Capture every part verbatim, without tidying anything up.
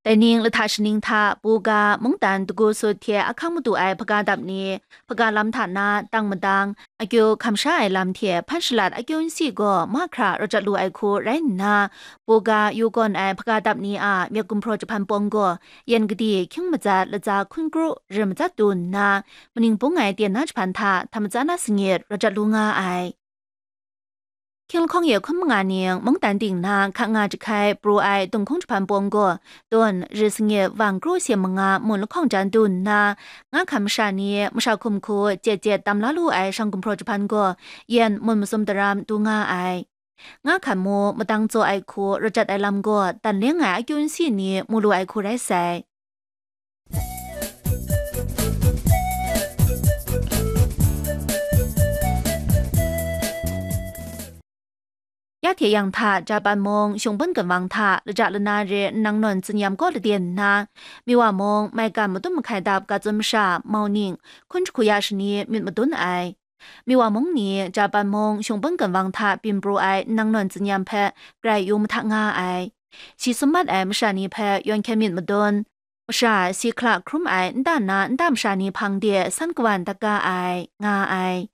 Dai ning lahta shaning hta, Buga mungdan dagu sut hte ahkang madu ai hpaga dap ni, hpaga lam hta na tang madang, akyu hkam sha ai lam hte hpan shalat akyu nsi gaw mahkra rawt jat lu ai hku rai nna, Buga yu gawn ai hpaga dap ni a myit gumhpraw jahpan pawng gaw, yan gadi hkying matsat latsa hkun kru rim matsat du nna, maning bung ai ten na jahpan hta htam matsa na sangit rawt jat lu nga ai. Hkying lahkawng ye hkun manga ning mungdan ting na hka nga jahkai pru ai dunghkung jahpan pawng gaw, tun ri sangit vang kru sem manga mun lahkawng jan du nna, nga hkam masha ni masha hkum hku jet jet tam la lu ai shang gumhpraw jahpan gaw, yan mun masum daram du nga ai. Nga hkam mu madang tsaw ai hku rawt jat ai lam gaw, dan leng ai akyu nsi ni mu lu ai hku rai sai. Ya hte yang hta, Japan mung Shungpun Ginwang hta laja lana re nnang nawn tsinyam kaw laden nna, Miwa mung maigan madum mahkai dap ga tsun masha mauning hkun jahku ya shani myit madun ai. Miwa mung ni Japan mung Shungpun Ginwang hta byin pru ai nnang nawn tsinyam hpe grai yu mahta nga ai. Shi sum mat ai masha ni hpe yawn hkyen myit madun, masha si hkala hkrum ai nta na nta masha ni hpang de san kawan dat ga ai, nga ai.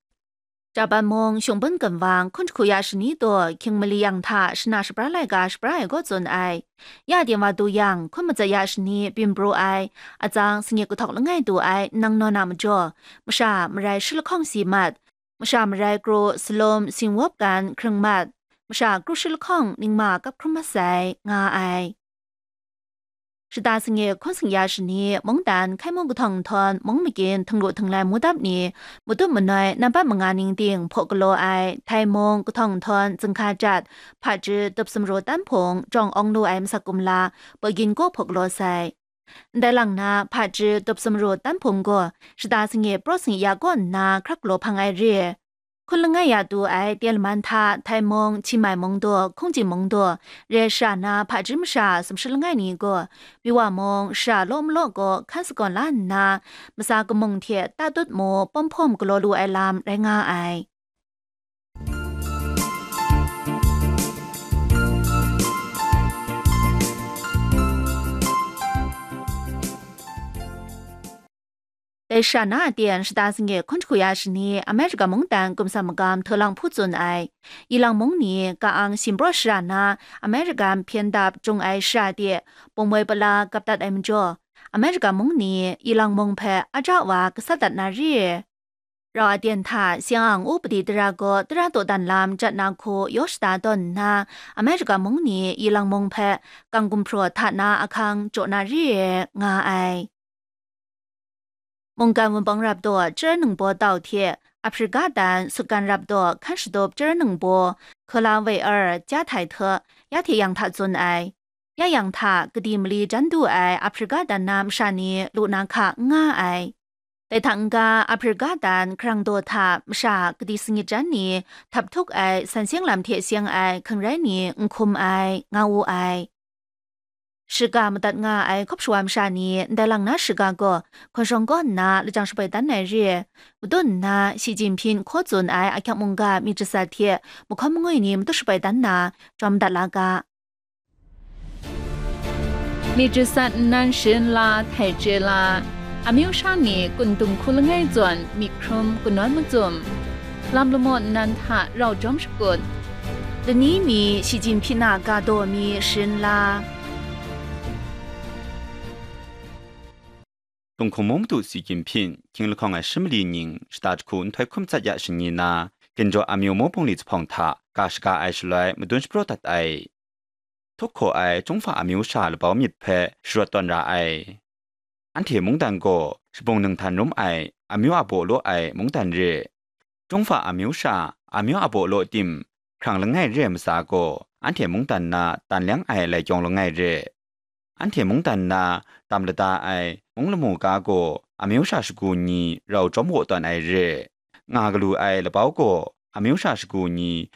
Japan mung Shungpun Ginwang hkun jahku ya shani taw hkying mali yang hta shana shabra laika shabra ai kaw tsun ai. Ya din wa du yang, hkun matsat ya shani byin pru ai, atsang sangit kahtawk langai du ai nnang nawn a majaw, masha marai shi lahkawng si mat, masha marai kru salum singwawp gan hkring mat, masha kru shi lahkawng ningma kap hkrum mat sai, nga ai. Shata sangit hkun sing ya shani, mungdan hkai mung kahtawng nhtawm mung magin htinglu htinglai mu dap ni, madum manoi nambat manga ning ting hpaw galaw ai, Thai mung kahtawng nhtawm zinghka jat, hpaji tup sumru tan hpung jawng awng lu ai masak kumla, Pawgin kaw hpaw galaw sai. Ndai lang na, hpaji tup sumru tan hpung gaw, shata sangit praw sangit ya kaw nna hkrak galaw hpang ai re. Hkun langai ya du ai ten laman hta Thai mung, Chi Mai mung daw, Hkungji mung daw, re shara na hpaji masha sumshi langai ni gaw, Miwa mung shara law malaw gaw hkan sagawn la nna, masa kamung hte tatut mu pawm hpawm galaw lu ai lam rai nga ai. Dai shara na aten shata sangit hkun jahku ya shani, America mungdan gumsam magam hte lang hpu tsun ai. Ilang mung ni ka-ang shim praw shara na, America hpyen dap jung ai shara de, pumwoi pala gap dat ai majaw, America mung ni ilang mung hpe aja wa gasat dat na re. Rau aten hta Siang-ang upadi tara gaw tara dawdan lam jat na hku yaw shada tawn nna, America mung ni ilang mung hpe kang gumhpraw hta na ahkang jaw na re ai, nga ai. Mungkan wunpawng rap daw chyara ningbaw tau hte, Africa dan sutgan rap daw hkan shatup chyara ningbaw, hkala woi ar, ja htai hte, ya hte yang hta tsun ai. Ya yang hta, kadi mali jan du ai Africa dan na masha ni lu na hka n nga ai. Dai hta n-ga, Africa dan hkarang daw hta masha kadi sangit jan ni htap htuk ai san seng lam hte seng ai hkang rai ni n hkum ai, nga wu ai. Shiga madat nga ai hkawp shawa masha ni ndai lang na shiga gaw hkawn shawng kaw nna lajang shaboi dan ai re, madun nna Shi Jinping hkaw tsun ai ahkyak mungga myit jasat hte mahkawn mangwi ni matut shaboi dan na, jawm dat la ga. Myit jasat nnan sharin la, htai chye la, amyu sha ni kun dung hku langai zawn myit hkrum kanawn macum, lam lamaw nnan hta rau jawm shakut, lani mi Shi Jinping a ga daw mi sharin la. Tunghkung mung madu Xi Jinping, hkying lahkawng ai shi mali ning shata jahku nhtoi hkum tsat ya shani na, ginjaw amyu mung bungli zuphpawng hta ga shaga ai shaloi madun shapraw dat ai. Htup hkaw ai Chyungfa amyu sha labau myit hpe sharawt tawn ra ai. Anhte mungdan gaw shabung ninghtan rum ai amyu a baw law ai mungdan re. Chyungfa amyu sha, amyu a baw law tim, hkrang langai re ai matsa gaw, anhte mungdan na tan leng ai lai kyawng langai re. Anhte mungdan na tam lada ai mung lamu ga gaw, amyu sha shagu ni rau jawm waw tawn ai re. Nga galu ai labau gaw, amyu sha shagu ni